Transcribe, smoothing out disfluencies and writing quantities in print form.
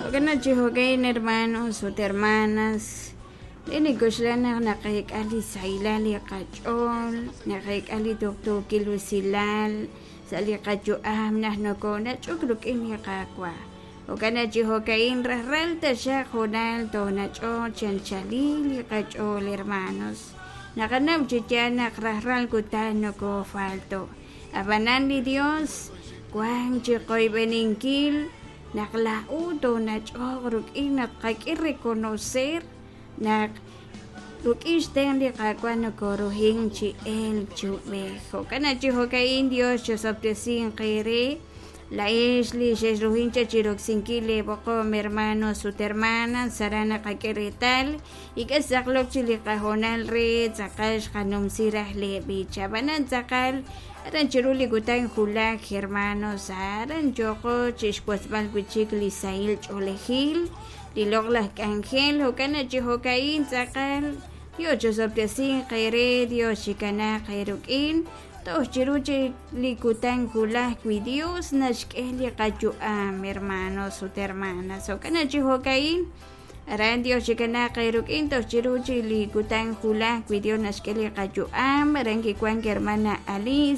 Jo'kan naq chi jo'ka'in hermanos ut hermanas, li nik'oxla naq naqeek'a li sahilal li qach'ool, naqeek'a li tuqtuukil usilal sa' li qayu'am naq nokonach'ok rik'in li Qaawa'. Jo'kan naq chi jo'ka'in rajlal taxaq hoonal toonach'oq chi anchalil li qach'ool hermanos. Naqanaw chi yaal naq rajlal kutan nokofalto'. Ab'anan li Dios wank chi qoyb'eninkil naq laa'o toonach'oq rik'in naq tqak'e reconocer naq rik'in xtenq' li Qaawa' nokoruhin chi elk chi ub'ej. Jo'kan naq chi jo'ka'in Dios chosob'tesinq eere laa'ex li xexruhin chaq chi roksinkil leeb'oqom hermanos ut hermanas aran naqak'e reetal ink'a' xtz'aqlok chi li qahoonal re tz'aqal xqanumsi raj leeb'ich. Ab'anan tz'aqal aran chiru li kutan wulaj hermanos aran yooqo chi xwotzb'al wi' chik li sahil ch'oolejil, li loq'laj k'anjel. Jo'kan naq chi jo'ka'in tz'aqal Dios chosob'tesinq eere, Dios chikanaaq eerik'in toj chiru chik li kutan wulaj wi Dios naxk'e li qayu'am hermanos ut hermanas. Jo'kan naq chi jo'ka'in aran Dios chikanaaq eerik'in toj chiru chik li kutan wulaj wi Dios naxk'e li qayu'am. Aran kiwank hermana Alice.